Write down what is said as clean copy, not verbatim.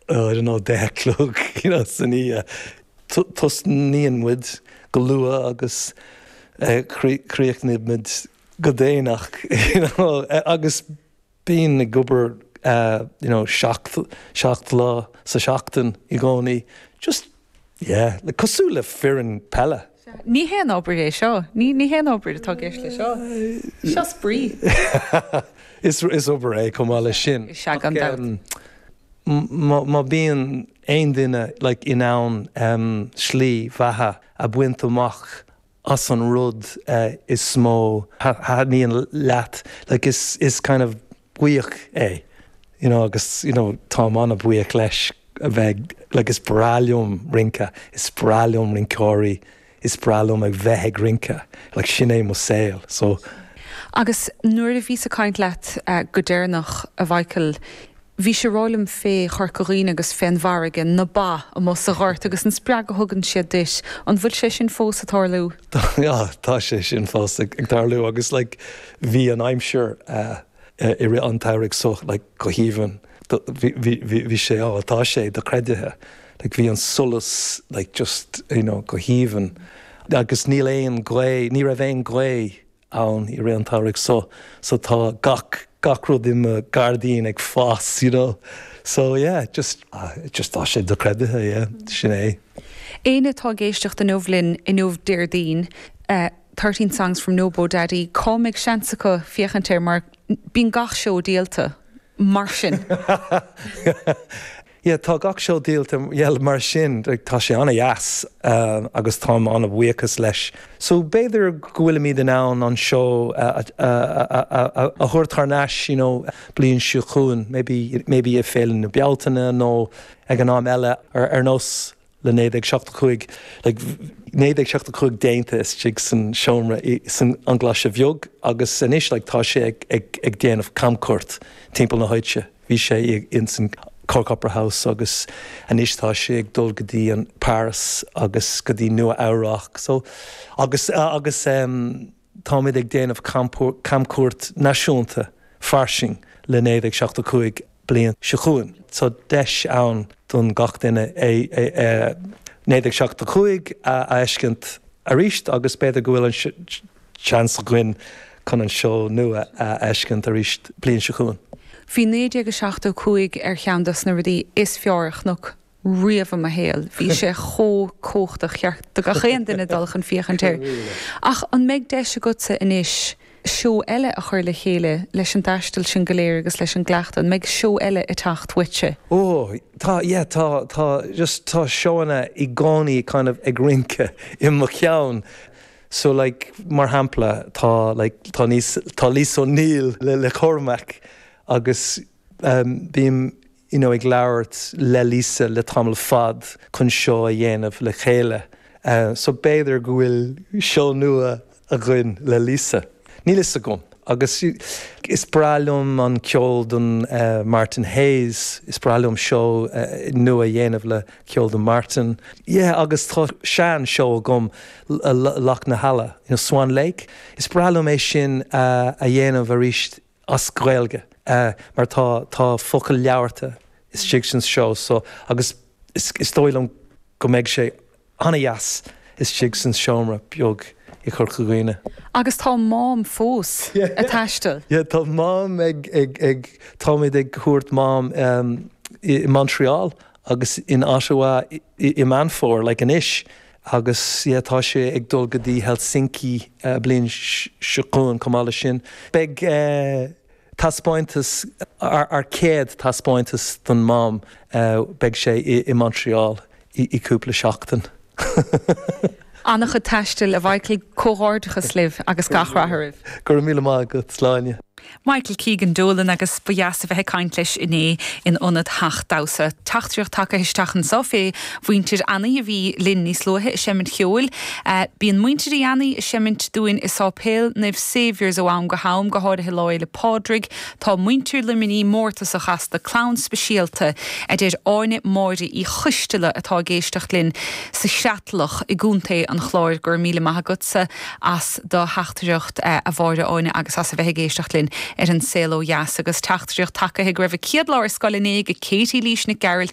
oh, I don't know, 10 a chlog, you know, san oíche. Tosnaíonn muid go luath agus críochnaímid go déanach, you know, agus bím ag obair, you know, seacht lá sa seachtain i gcónaí. Just, yeah, like cosúil le foireann peile. Ní haon obair é seo. Ní haon obair atá i gceist le seo. Seo spraoi. Is obair é chomh maith leis sin. Is ea, gan dabht. Má bíonn aon duine like in ann slí bheatha a bhaint amach as an rud is mó a thaitníonn leat, like is is kind of buíoch é, you know, agus you know táim an-bhuíoch leis a bheith like is breá liom rince, is breá liom rinceoirí, is breá liom a bheith ag rince, like sin é mo saol, so. Agus nuair a bhíos ag caint leat go deireanach, a Mhichael, bhís ag rá liom fé Chorca Dhuibhne agus fén bhfarraige, na ba amuigh sa ghort agus an spreagadh a thugann siad duit, an bhfuil sé sin fós ag tarlú? Tá, tá sé sin fós ag tarlú agus like bhí an aimsir i rith an tsamhraidh so like go haoibhinn, bhí sé, ó tá sé dochreidthe, like bhí an solas like just you know go haoibhinn agus níl aon ghaoth, ní raibh aon ghaoth ann i rith an tsamhraidh so so tá gach gach rud i mo ghairdín ag fás you know so yeah just just tá sé dochreidthe yeah sin é. Éinne atá ag éisteacht inniu linn inniu Déardaoin, 13 Songs from Nobo Daddy, cá mbeidh seans acu féachaint air mar bíonn gach seó díolta mar sin. Yeah, tá gach seó díolta, yeah, mar sin, tá sé an-dheas agus táim an-bhuíochas leis. So b'fhéidir go bhfuilimid in ann an seó a thabhairt thar n-ais, you know, bliain seo chugainn, maybe, maybe i Féile na Bealtaine nó ag an am eile ar nós le 1975, like 1975 déanta istigh san seomra san An Ghlaise Bheag agus anois like tá sé ag ag ag déanamh camchuairt timpeall na háite. Bhí sé in san Cork Opera House agus anois tá sé ag dul go dtí an Paris agus go dtí Nua Eabhrac so agus agus em táimid ag déanamh camchuairt náisiúnta fairsing le 1975 bliain seo chugainn. So deis ann don gach duine é 1975 a fheiscint arís agus b'fhéidir go bhfuil an seans againn chun an seó nua a fheiscint arís bliain seo chugainn. Bhí 1975 ar cheann dos na rudaí is fearr a chonac riamh i mo shaol. Bhí sé chomh cumhachtach, cheart do gach aon duine dul chun féachaint air. Ach an mbeidh deis agatsa anois seó eile a chur le chéile leis an dtaisteal sin go léir agus leis an gcleachtadh? An mbeidh seó eile ag teacht uaitse? Ó, tá, yeah, tá, tá, just tá seóanna i gcónaí kind of ag rince i mo cheann. So like, mar shampla, tá like, tá níos, tá Lisa O'Neill le le Cormac agus um, bím you know, ag labhairt le Lisa le tamall fad chun seó a dhéanamh le chéile. So b'fhéidir go bhfuil seó nua againn le Lisa. Níl fhios agam. Agus is breá liom an ceol don Martin Hayes, is breá liom seó nua a dhéanamh le ceol do Martin. Yeah, agus tá sean seó agam, Loch na hEala, you know, Swan Lake. Is breá liom é sin a dhéanamh arís as Gaeilge mar tá tá focail labhartha istigh san seó so agus is is dóigh liom go mbeidh sé an-dheas istigh san seomra beag i Corca Dhuibhne. Agus tá Mám fós ag taisteal. Yeah tá Mám ag ag ag táimid ag thabhairt Mám i Montreal agus in Ottawa i i Meán Fómhair like anois Agus yeah tá sé ag dul go dtí Helsinki bliain seo chugainn chomh maith leis sin. Beidh taispeántas, ár chéad taispeántas don Mám, beidh sé i Montreal i cúpla seachtain. An-chuid taistil, a Mhichael, comhghairdeachas libh agus gach rath oraibh. Go raibh míle maith agat, Sláine. Michael Keegan Dolan agus ba dheas a bheith ag caint leis inné in Ionad Theach Damhsa. Teachtaireacht tagtha isteach anso fé mhuintir Annaidh a bhí linn níos luaithe ag seimint cheoil. Bíonn muintir Uí Annaidh ag seimint dúinn i Sáipéal Naomh Saviour's ó am go ham, go háirithe Lá Fhéile Pádraig. Tá muintir Luimnigh mórtasach astu, clann speisialta, a deir Áine Máire Uí Choisteala atá ag éisteacht linn sa Chreatlach i gContae an Chláir. Go raibh míle maith agatsa as do theachtaireacht, a Mháire Áine, agus as a bheith ag éisteacht linn ar An Saol Ó Dheas. Agus teachtaireacht tagtha go raibh a céad lá ar scoil inné ag Katie Lís Nic Gearailt.